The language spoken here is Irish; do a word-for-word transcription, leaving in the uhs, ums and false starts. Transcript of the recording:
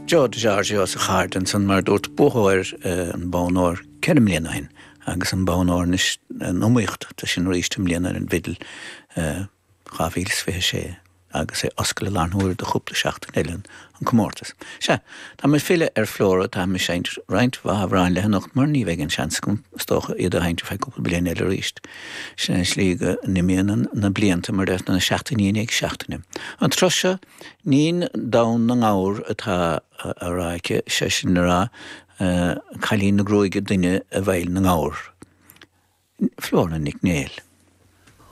Joe DiGiorgio sa chaird ansan mar dúirt buaiteoir an bonn óir ceithre bliana ó shin agus an bonn óir anois an iomaíocht tá sin arís i mbliana ar an bhfidil dhá mhíle is fiche sé agus é oscailte i láthair na huaire do chúpla seachtain eile an comórtas. Sea, tá mé ag filleadh ar Flora, tá mé ag seinnt roinnt mhaith amhrán léi anocht mar ní bheidh an seans agam is dócha iad a sheinnt ar feadh cúpla bliain eile arís. Sin an slí go n-imíonn na blianta mar deir na seachtainí i ndiaidh seachtaine. An tráth seo Níon Domhan na nGabhar atá á rá aici, sé sin le rá, cailín na gruaige doinne i bhfeighil na ngabhar. Flora Nic Néill.